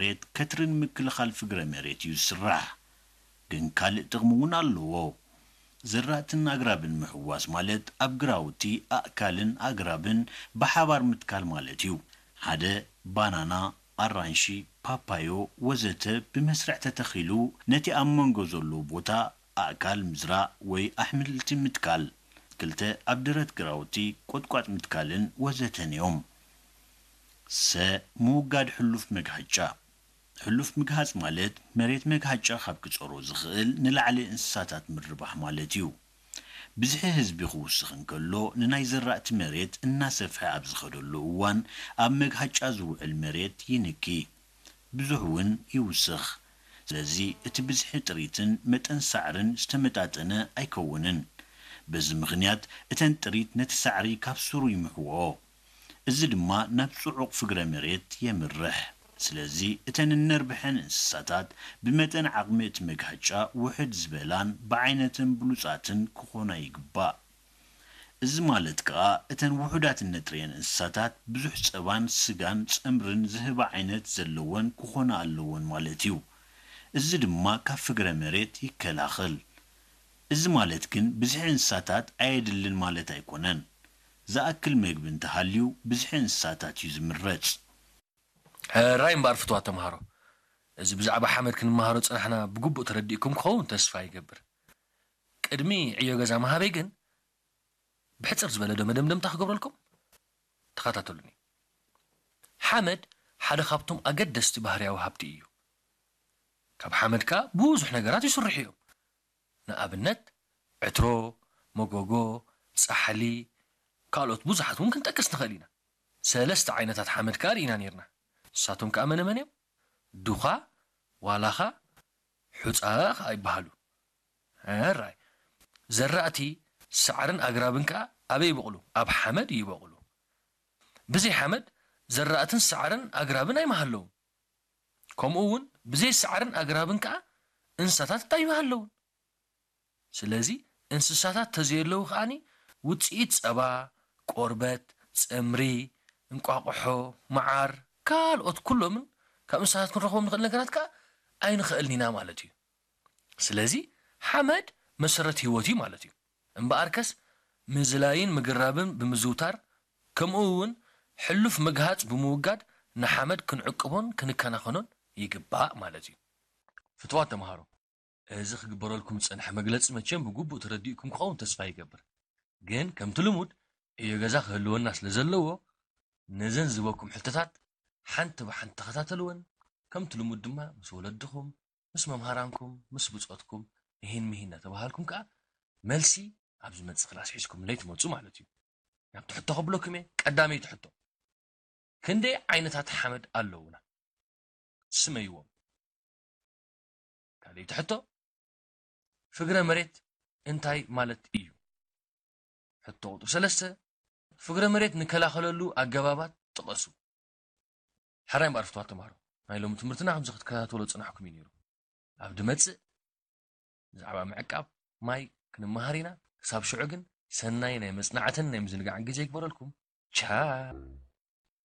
መሬት ከትርን ምክልኻል ፍግረ መሬት እዩ ዝስራሕ። ግን ካልእ ጥቕሚ እውን ኣለዎ። ዘራእትን ኣግራብን ምሕዋስ ማለት ኣብ ግራውቲ ኣእካልን ኣግራብን ብሓባር ምትካል ማለት እዩ። ሓደ ባናና፣ ኣራንሺ፣ ፓፓዮ ወዘተ ብመስርዕ ተተኺሉ ነቲ ኣብ መንጎ ዘሎ ቦታ ኣእካል ምዝራእ ወይ ኣሕምልቲ ምትካል። ክልተ ኣብ ደረት ግራውቲ ቆጥቋጥ ምትካልን ወዘተን እዮም። ሰ ምውጋድ ሕሉፍ መግሃጫ። ሕሉፍ ምግሃጽ ማለት መሬት መግሃጫ ካብ ክጸሮ ዝኽእል ንላዕሊ እንስሳታት ምርባሕ ማለት እዩ። ብዝሒ ህዝቢ ክውስኽ እንከሎ ንናይ ዘራእቲ መሬት እናሰፍሐ ኣብ ዝኸደሉ እዋን ኣብ መግሃጫ ዝውዕል መሬት ይንኪ፣ ብዙሕ እውን ይውስኽ። ስለዚ እቲ ብዝሒ ጥሪትን መጠን ሳዕርን ዝተመጣጠነ ኣይከውንን። በዚ ምኽንያት እተን ጥሪት ነቲ ሳዕሪ ካብ ሱሩ ይምሕውኦ። እዚ ድማ ናብ ጽዑቕ ፍግረ መሬት የምርሕ። ስለዚ እተን እነርብሐን እንስሳታት ብመጠን ዓቕሚ እቲ መግሃጫ ውሕድ ዝበላን ብዓይነትን ብሉጻትን ክኾና ይግባእ። እዚ ማለት ከኣ እተን ውሑዳት እነጥርየን እንስሳታት ብዙሕ ጸባን ስጋን ጸምርን ዝህባ ዓይነት ዘለወን ክኾና ኣለወን ማለት እዩ። እዚ ድማ ካብ ፍግረ መሬት ይከላኸል። እዚ ማለት ግን ብዝሒ እንስሳታት ኣየድልን ማለት ኣይኮነን። ዝኣክል መግቢ እንተሃልዩ ብዝሒ እንስሳታት እዩ ዝምረጽ። ሕራይ እምበኣር ፍትዋት ተምሃሮ፣ እዚ ብዛዕባ ሓመድ ክንመሃሮ ዝጸናሕና ብግቡእ ተረዲእኩም ክኸውን ተስፋ ይገብር። ቅድሚ ዕዮ ገዛ ምሃበይ ግን ብሕጽር ዝበለ ዶ መደምደምታ ክገብረልኩም? ተኸታተሉኒ። ሓመድ ሓደ ካብቶም ኣገደስቲ ባህርያዊ ሃብቲ እዩ። ካብ ሓመድ ከኣ ብዙሕ ነገራት ይስርሑ እዮም። ንኣብነት ዕትሮ፣ መጎጎ፣ ጻሕሊ፣ ካልኦት ብዙሓት እውን ክንጠቅስ ንኽእል ኢና። ሰለስተ ዓይነታት ሓመድ ከኣ ርኢና ነይርና። ንሳቶም ከኣ መነ መን እዮም? ዱኻ፣ ዋላኻ፣ ሑጻ ከኣ ይበሃሉ። ሕራይ ዘራእቲ ሳዕርን ኣግራብን ከኣ ኣበይ ይበቑሉ? ኣብ ሓመድ ይበቑሉ። ብዘይ ሓመድ ዘራእትን ሳዕርን ኣግራብን ኣይምሃለውን። ከምኡ እውን ብዘይ ሳዕርን ኣግራብን ከኣ እንስሳታት ኣይምሃለውን። ስለዚ እንስሳታት ተዘየለዉ ከኣኒ ውፅኢት ፀባ፣ ቆርበት፣ ፀምሪ፣ እንቋቑሖ፣ መዓር፣ ካልኦት ኩሎምን ካብ እንስሳታት ክንረኽቦም ንኽእል ነገራት ከኣ ኣይንኽእልን ኢና ማለት እዩ። ስለዚ ሓመድ መሰረት ህይወት እዩ ማለት እዩ። እምበኣርከስ ምዝላይን ምግራብን ብምዝውታር ከምኡ እውን ሕሉፍ ምግሃፅ ብምውጋድ ንሓመድ ክንዕቅቦን ክንከናኸኖን ይግባእ ማለት እዩ። ፍትዋት ተምሃሮ፣ እዚ ክግበረልኩም ዝጸንሐ መግለጺ መቸም ብግቡእ ተረዲእኩም ክኸውን ተስፋ ይገብር። ግን ከምቲ ልሙድ ዕዮ ገዛ ክህልወና ስለ ዘለዎ ነዘን ዝበኩም ሕቶታት ሓንቲ ብሓንቲ ተኸታተልወን። ከምቲ ልሙድ ድማ ምስ ወለድኹም፣ ምስ መምሃራንኩም፣ ምስ ብጾትኩም እሂን ምሂን እናተባሃልኩም ከኣ መልሲ ኣብ ዝመጽእ ክላስ ሒዝኩምለይ ትመጹ ማለት እዩ። ናብቲ ሕቶ ከብለኩም እየ። ቀዳመይቲ ሕቶ፣ ክንደይ ዓይነታት ሓመድ ኣለዉና? ስመይዎም። ካልኣይቲ ሕቶ፣ ፍግረ መሬት እንታይ ማለት እዩ? ሕቶ ቁጽሪ ሰለስተ፣ ፍግረ መሬት ንከላኸለሉ ኣገባባት ጥቐሱ። ሕራይ እምበኣር ፍትዋት ተምሃሮ፣ ናይ ሎሚ ትምህርትና ከምዚ ክትከታተሎ ዝጸናሕኩም እዩ ነይሩ። ኣብ ድመጽእ ብዛዕባ ምዕቃብ ማይ ክንመሃር ኢና። ክሳብ ሽዑ ግን ሰናይ ናይ መጽናዕትን ናይ ምዝንጋዕን ግዜ ይግበረልኩም። ቻው።